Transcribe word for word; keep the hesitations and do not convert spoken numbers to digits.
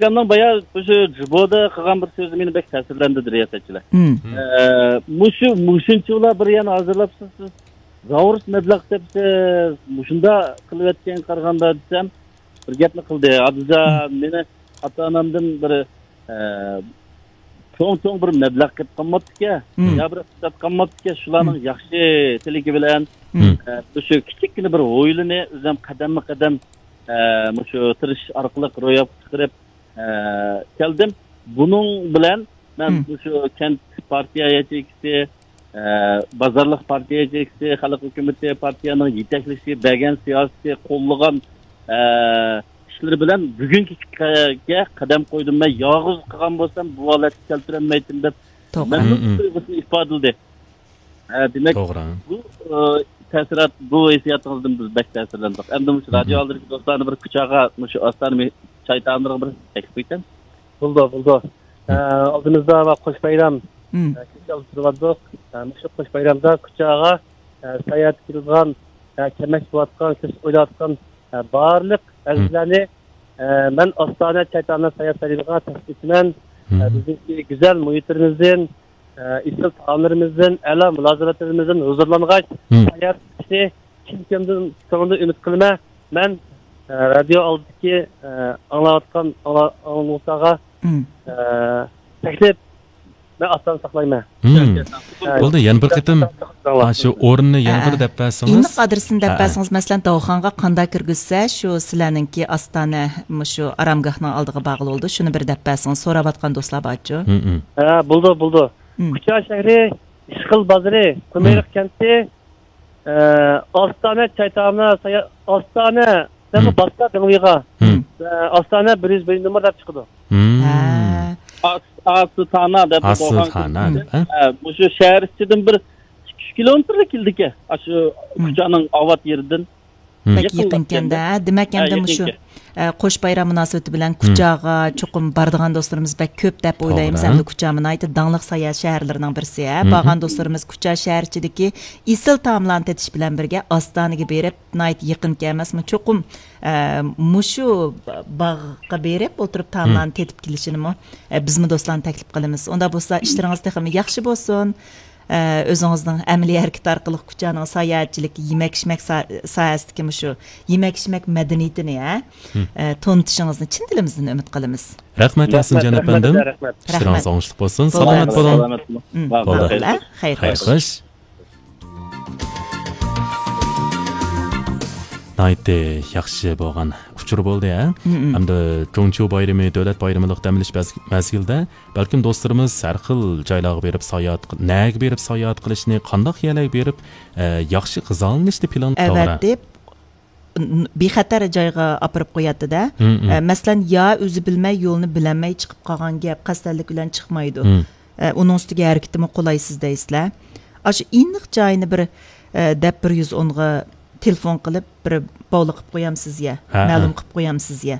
ئاكامنىڭ بايا مۇشۇ جۇبودا قىلغان بىر سۆزى مېنى بەك تەسىرلەندۈردى، رىياسەتچىلەر. مم. ئە، مۇشۇ، مۇشۇنچىلا بىر يەنە ھازىرلاپسىز سىز. زاۋۇرۇس مەبلەغ تېپىسىز، مۇشۇنداق قىلىۋەتكەنگە قارىغاندا دېسەم، بىر گەپنى قىلدى. ئابدۇزا، مم، مېنى ئاتا-ئانامدىن بىر، ئە، چوڭ-چوڭ بىر مەبلەغ كېلىپ قالماپتىكەن، مم، يا بىر ئىقتىساد قالماپتىكەن، شۇلارنىڭ، مم، ياخشى تىلىكى بىلەن، مم، ئە، مۇشۇ كىچىككىنە بىر ھويلىنى ئۆزۈم قەدەممۇ قەدەم، ئە، مۇشۇ تىرىشىش ئارقىلىق روياپقا چىقىرىپ، ئە، كەلدىم. بۇنىڭ بىلەن مەن، مم، مۇشۇ كەنت پارتىيە ياچېيكىسى، ئە، بازارلىق پارتىيە ياچېيكىسى، خەلق ھۆكۈمىتى پارتىيەنىڭ يېتەكلىشى، بەرگەن سىياسىتى، قوللىغان، ئە، ئىشلىرى بىلەن بۈگۈنكى كۈنگە قەدەم قويدۇم. مەن يالغۇز قىلغان بولسام، بۇ ھالەتكە كەلتۈرەلمەيتتىم دەپ توغرا. مەمنۇنلۇق، مم، تۇيغۇسىنى ئىپادىلىدى. ھە، دېمەك، توغرا، بۇ، ئە، تەسىرات، بۇ ھېسسىياتىڭىزدىن بىز بەك تەسىرلەندۇق. ئەمدى مۇشۇ، مم، رادىيو ئالدىدىكى دوستلارنى بىر كۇچاغا، مۇشۇ ئاستانە چاي تائاملىرىغا بىر تەكلىپ قويسام. بولىدۇ، بولىدۇ. مم. ئە، ئالدىمىزدا ۋە قوش بايرام، مم، ئە، كۈتۈپ تۇرۇۋاتىدۇق. ئە، مۇشۇ قوش بايرامدا كۇچاغا، ئە، ساياھەتكە كېلىدىغان، ئە، كەلمەكچى بولۇۋاتقان، كېلىشكە ئويلاۋاتقان، ئە، بارلىق، مم، ئەزىزلەرنى، ئە، مەن ئاستانە چاي تائاملار ساياھەت سەھىپىگە تەكلىپ ئېتىمەن. ئە، مم، بىزنىڭكى گۈزەل مۇھىتلىرىمىزدىن، ئە، ئېسىل تائاملىرىمىزدىن، ئەلا مۇلازىمەتلىرىمىزدىن ھۇزۇرلانغاچ، مم، ساياھەت قىلىشنى چىن كۆڭلىدىن، كۆڭلىدىن ئۈمىد قىلىمەن. مەن، ئە، رادىيو ئالدىدىكى، ئە، ئاڭلاۋاتقان، ئاڭلا-، ئاڭلىغۇچىلارغا، مم، ئە، تەكلىپ، مەن ئاستانە ساقلايمەن. مم. ئە، بولدى، يەنە بىر قېتىم، ئاشۇ ئورنىنى يەنە بىر، ھە، دەپ بەرسىڭىز. ئېنىق ئادرېسىنى دەپ، ھە، بەرسىڭىز، مەسىلەن، داۋخانغا قانداق كىرگۈزسە، شۇ سىلەرنىڭكى ئاستانە، مۇشۇ ئارامگاھنىڭ ئالدىغا بارغىلى بولىدۇ، شۇنى بىر دەپ بەرسىڭىز، سوراۋاتقان دوستلار بارچۇ؟ مم، مم. ھە، بولىدۇ، بولىدۇ. مم. كۇچا شەھىرى، ئىشقىل بازىرى، قۇمۇرۇق، مم، كەنتى، ئە، ئاستانە چاي تائاملار سايا-، ئاستانە، مم، باستا دېڭىۋىغا، مم، ئە، ئاستانە بىر يۈز بىرىنچى نومۇر دەپ چىقىدۇ. مم. ھە. ئاس-، ئاستانە دەپ، ئاستانە، ھە؟ ھە، مۇشۇ شەھەر ئىچىدىن بىر ئىككى يۈز كىلومېتىرلا كېلىدىكەن. ئاشۇ، مم، كۇچانىڭ ئاۋات يېرىدىن. مم. بەك يېقىنكەن-دە. دېمەك، ھە، ئەمدى مۇشۇ، يېقىنكەن. ئە، قوش بايرام مۇناسىۋىتى بىلەن، مم، كۇچاغا چوقۇم بارىدىغان دوستلىرىمىز بەك كۆپ دەپ ئويلايمىز. توغرا. ئەمدى كۇچا ناھايىتى داڭلىق ساياھەت شەھەرلىرىنىڭ بىرسى، ھە. مم. بارغان دوستلىرىمىز كۇچا شەھەر ئىچىدىكى ئېسىل تائاملارنى تېتىش بىلەن بىرگە، ئاستانىگە بېرىپ، ناھايىتى يېقىنكەن ئەمەسمۇ؟ چوقۇم، ئە، مۇشۇ باغقا بېرىپ ئولتۇرۇپ، مم، تائاملارنى تېتىپ كېلىشىنىمۇ، ئە، بىزمۇ دوستلارنى تەكلىپ قىلىمىز. ئۇنداق بولسا، ئىشلىرىڭىز تېخىمۇ ياخشى بولسۇن. ئە، ئۆزىڭىزنىڭ ئەمەلىي ھەرىكىتى ئارقىلىق كۇچانىڭ ساياھەتچىلىك، يېمەك-ئىچمەك سا-، ساھەسىدىكى مۇشۇ يېمەك-ئىچمەك مەدەنىيىتىنى، ھە، مم، ئە، تونۇتۇشىڭىزنى چىن دىلىمىزدىن ئۈمىد قىلىمىز. رەھمەت ياسىنجان ئەپەندىم. رەھمەت. ئىشلىرىڭىز ئوڭۇشلۇق بولسۇن. بولدى. سالامەت بولۇڭ. سالامەت بولۇڭ. مم. بولدى. بولدى. خەير خوش. ناھايىتى ياخشى بولغان ئۇچۇر بولدى، ھە؟ مم. ئەمدى جۇڭچيۇ بايرىمى، دۆلەت بايرىمىلىق دەم ئېلىش مەز-، مەزگىلىدە بەلكىم دوستلىرىمىز ھەر خىل جايلارغا بېرىپ ساياھەت ق-، نەگە بېرىپ ساياھەت قىلىشنى، قانداق يەرلەرگە بېرىپ، ئە، ياخشى غىزالىنىشنى پىلان قىلىدۇ. ئەۋەتىپ، ن-، بىخەتەر جايغا ئاپىرىپ قوياتتى-دە. مم، مم. ئە، مەسىلەن، يا ئۆزى بىلمەي، يولنى بىلەلمەي چىقىپ قالغان گەپ، قەستەنلىك بىلەن چىقمايدۇ. مم. ئە، ئۇنىڭ ئۈستىگە ھەرىكىتىمۇ قولايسىز دەيسىلەر. ئاشۇ ئېنىق جايىنى بىر، ئە، دەپ بىر يۈز ئونغا تېلېفون قىلىپ، بىر باۋلا قىلىپ قويامسىز يا، ھە، مەلۇم، ھە، قىلىپ قويامسىز يا.